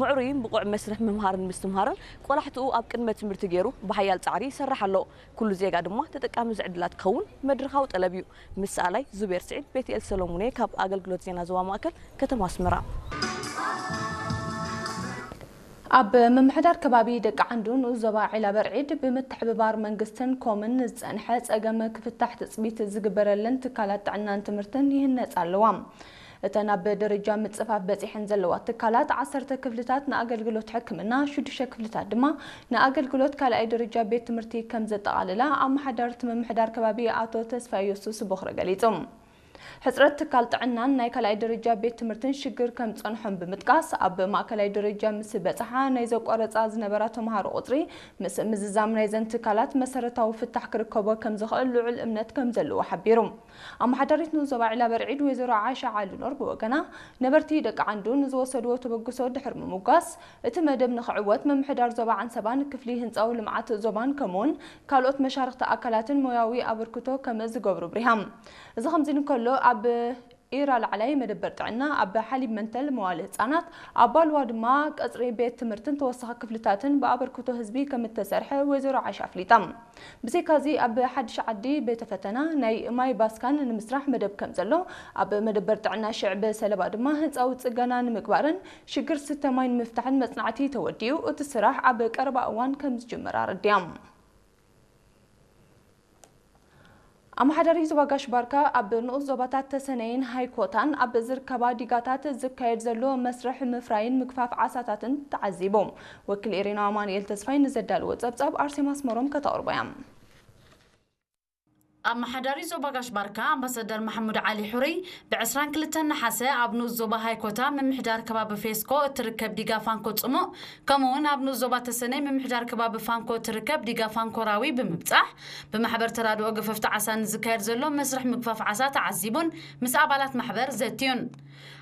ምዕሩይን ብቑዕ መስርሕ ምምሃርን ምስትምሃርን ቆላሕትኡ ኣብ ቅድመ ትምህርቲ ገይሩ ብሓያል ጻዕሪ ይሰርሕ ኣሎ። ኩሉ ዜጋ ድማ ተጠቃሚ ዝዕድላት ክኸውን መድረኻዊ ጠለብ እዩ። ምስ ሰኣላይ ዙቤር ስዒድ፣ ቤትኤል ሰሎሙን እየ ካብ ኣገልግሎት ዜና ዞባ ማእከል ከተማ ኣስመራ። ኣብ ምምሕዳር ከባቢ ደቂ ዓንዱ ንኡስ ዞባ ዒላ በርዒድ ብምትሕብባር መንግስትን ኮምን ንዝጸንሐ ጸገም ክፍታሕ ትጽቢት ዝግበረለን ትካላት ጥዕናን ትምህርትን ይህነጻ ኣለዋ። እተን ኣብ ደረጃ ምጽፋፍ በጺሐን ዘለዋ ትካላት ዓሰርተ ክፍልታት ንኣገልግሎት ሕክምና፣ ሽዱሽተ ክፍልታት ድማ ንኣገልግሎት ካልኣይ ደረጃ ቤት ትምህርቲ ከም ዘጠቓልላ ኣመሓዳሪ እቲ ምምሕዳር ከባቢ ኣቶ ተስፋ የሱስ ቦኽረ ገሊጹ። ሕጽረት ትካል ጥዕናን ናይ ካልኣይ ደረጃ ቤት ትምህርትን ሽግር ከም ጸንሖም ብምጥቃስ፣ ኣብ ማእከላይ ደረጃ ምስ በጽሓ ናይ ዘቋረጻ ዝነበራ ተምሃሮ ቁጽሪ ምስ ምዝዛም ናይዘን ትካላት መሰረታዊ ፍታሕ ክርከቦ ከም ዝኽእል ልዑል እምነት ከም ዘለዎ ሓቢሩ። ኣመሓዳሪት ንኡስ ዞባ ዒላ በርዒድ ወይዘሮ ዓሻ ዓሊ ኖር ብወገና፣ ነበርቲ ደቂ ዓንዱ ንዝወሰድዎ ተበግሶ ድሕሪ ምምጓስ፣ እቲ መደብ ንኽዕወት ምምሕዳር ዞባ ዓንሰባን ክፍሊ ህንጻዊ ልምዓት ዞባን ከምኡውን ካልኦት መሻርኽቲ ኣካላትን ሞያዊ ኣበርክቶ ከም ዝገብሩ ብሪሃ። እዚ ከምዚ እንከሎ፣ ኣብ ኢራ ላዕላይ መደበር ጥዕና፣ ኣብ ሓሊብ መንተል መዋለ ህጻናት፣ ኣብ ባልዋ ድማ ቀጽሪ ቤት ትምህርትን ተወሳኺ ክፍልታትን ብኣበርክቶ ህዝቢ ከም እተሰርሐ ወይዘሮ ዓሻ ኣፍሊጣ። ብዘይካዚ ኣብ ሓድሽ ዓዲ ቤተ ፈተና ናይ ማይ ባስካን ንምስራሕ መደብ ከም ዘሎ፣ ኣብ መደበር ጥዕና ሽዕብ ሰለባ ድማ ህንፃዊ ጽገና ንምግባርን ሽግር ስተ ማይ ንምፍታሕን መጽናዕቲ ተወዲኡ እቲ ስራሕ ኣብ ቀረባ እዋን ከም ዝጅመር ኣረዲያ። ኣመሓዳሪ ዞባ ጋሽ ባርካ ኣብ ንኡስ ዞባታት ተሰነይን ሃይኮታን ኣብ ዝርከባ ዲጋታት ዝካየድ ዘሎ መስርሕ ምፍራይን ምግፋፍ ዓሳታትን ተዓዚቡ። ወኪል ኤሪና ኣማኑኤል ተስፋይ ንዘዳለዎ ጸብጻብ ኣርሴማ ኣስመሮም ከተቕርቦ እያ። ኣመሓዳሪ ዞባ ጋሽ ባርካ ኣምባሳደር ማሕሙድ ዓሊ ሑሪ ብ ዕስራን ክልተን ነሓሰ ኣብ ንኡስ ዞባ ሃይኮታ ምምሕዳር ከባቢ ፌስኮ እትርከብ ዲጋ ፋንኮ ጽሙእ፣ ከምኡ እውን ኣብ ንኡስ ዞባ ተሰነይ ምምሕዳር ከባቢ ፋንኮ እትርከብ ዲጋ ፋንኮ ራዊ ብምብጻሕ፣ ብማሕበር ተራድኦ ገፈፍቲ ዓሳ ንዝካየድ ዘሎ መስርሕ ምግፋፍ ዓሳ ተዓዚቡን ምስ ኣባላት ማሕበር ዘትዩን።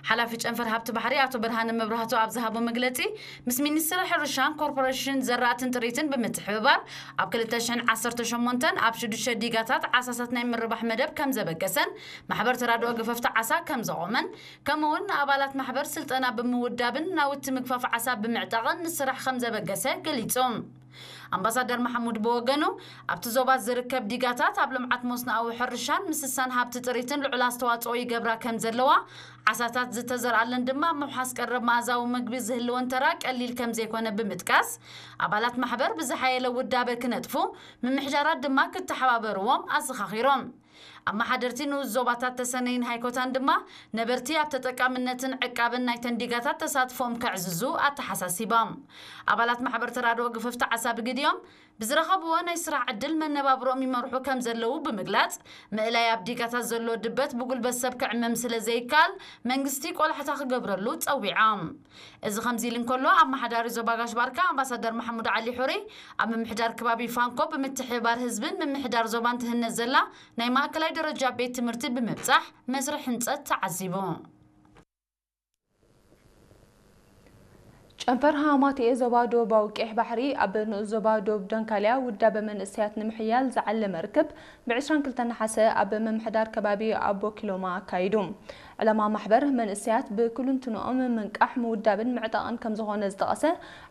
ሓላፊ ጨንፈር ሃብቲ ባሕሪ ኣቶ ብርሃነ መብራህቱ ኣብ ዝሃቦ መግለጺ፣ ምስ ሚኒስትሪ ሕርሻን ኮርፖሬሽን ዘራእትን ጥሪትን ብምትሕብባር ኣብ ክልተ ሽሕን ዓሰርተ ሸሞንተን ኣብ ሽዱሽተ ዲጋታት ዓሳታት ናይ ምርባሕ መደብ ከም ዘበገሰን ማሕበር ተራድኦ ገፈፍቲ ዓሳ ከም ዘቖመን፣ ከምኡ እውን ንኣባላት ማሕበር ስልጠና ብምውዳብን ናውቲ ምግፋፍ ዓሳ ብምዕጣቕን ንስራሕ ከም ዘበገሰ ገሊጹ። ኣምባሳደር ማሕሙድ ብወገኑ፣ ኣብቲ ዞባ ዝርከብ ዲጋታት ኣብ ልምዓት መስኖኣዊ ሕርሻን ምስሳን ሃብቲ ጥሪትን ልዑል ኣስተዋጽኦ ይገብራ ከም ዘለዋ፣ ዓሳታት ዝተዘርኣለን ድማ ምውሓስ ቀረብ መኣዛዊ ምግቢ ዝህልወን ተራ ቀሊል ከም ዘይኮነ ብምጥቃስ፣ ኣባላት ማሕበር ብዝሓየለ ውዳበ ክነጥፉ፣ ምምሕዳራት ድማ ክተሓባበርዎም ኣዘኻኺሮም። ኣመሓደርቲ ንኡስ ዞባታት ተሰነይን ሃይኮታን ድማ ነበርቲ ኣብ ተጠቃምነትን ዕቃብን ናይተን ዲጋታት ተሳትፎኦም ከዕዝዙ ኣተሓሳሲቦም። ኣባላት ማሕበር ተራድኦ ገፈፍቲ ዓሳ ብግዲኦም ብዝረኸብዎ ናይ ስራሕ ዕድል መነባብሮኦም ይመርሑ ከም ዘለዉ ብምግላጽ፣ ምእላይ ኣብ ዲጋታት ዘሎ ድበት ብጉልበት ሰብ ክዕመም ስለ ዘይከኣል መንግስቲ ቆላሕታ ክገብረሉ ጸዊዖም። እዚ ከምዚ ኢሉ እንከሎ፣ ኣመሓዳሪ ዞባ ጋሽ ባርካ ኣምባሳደር ማሕሙድ ዓሊ ሑሪ ኣብ ምምሕዳር ከባቢ ፋንኮ ብምትሕብባር ህዝብን ምምሕዳር ዞባን ትህነጽ ዘላ ናይ ማእከላይ ደረጃ ቤት ትምህርቲ ብምብጻሕ መስርሕ ህንጸት ተዓዚቡ። ጨንፈር ሃማቴ ዞባ ዶባዊ ቀይሕ ባሕሪ ኣብ ንኡስ ዞባ ዶብ ደንካልያ ውዳበ መንእሰያት ንምሕያል ዝዓለመ ርክብ ብ ዕስራን ክልተን ነሓሰ ኣብ ምምሕዳር ከባቢ ኣቦ ኪሎማ ኣካይዱ። ዕላማ ማሕበር መንእሰያት ብክልንትንኦም ምንቃሕ፣ ምውዳብን ምዕጣቕን ከም ዝኾነ ዝጠቐሰ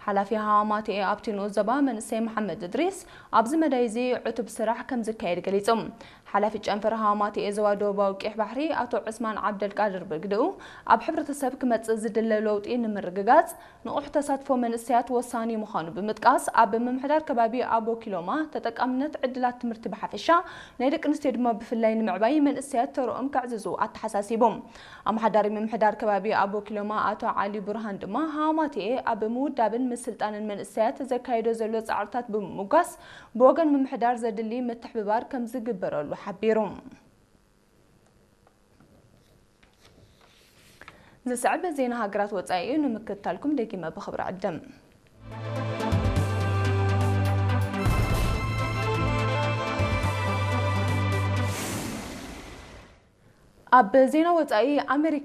ሓላፊ ሃማቴ ኣብቲ ንኡስ ዞባ መንእሰይ መሓመድ እድሪስ፣ ኣብዚ መዳይ እዚ ዕቱብ ስራሕ ከም ዝካየድ ገሊጹ። ሓላፊ ጨንፈር ሃማቴ ዞባ ዶባዊ ቀይሕ ባሕሪ ኣቶ ዑስማን ዓብደልቃድር ብግድኡ፣ ኣብ ሕብረተሰብ ክመጽእ ዝድለ ለውጢ ንምርግጋጽ ንቑሕ ተሳትፎ መንእሰያት ወሳኒ ምዃኑ ብምጥቃስ፣ ኣብ ምምሕዳር ከባቢ ኣቦ ኪሎማ ተጠቃምነት ዕድላት ትምህርቲ ብሓፈሻ፣ ናይ ደቂ ኣንስትዮ ድማ ብፍላይ ንምዕባይ መንእሰያት ተርኦም ከዕዝዙ ኣተሓሳሲቡ። ኣመሓዳሪ ምምሕዳር ከባቢ ኣቦ ኪሎማ ኣቶ ዓሊ ቡርሃን ድማ፣ ሃማቴ ኣብ ምውዳብን ምስልጣንን መንእሰያት ዘካየዶ ዘሎ ጻዕርታት ብምምጓስ፣ ብወገን ምምሕዳር ዘድሊ ምትሕብባር ከም ዝግበረሉ ሓቢሩ። ዝስዕብ ዜና ሃገራት ወጻኢ እዩ፣ ንምክትታልኩም ደጊመ ብኽብሪ ዕድም። ኣብ ዜና ወጻኢ፣ ኣሜሪካ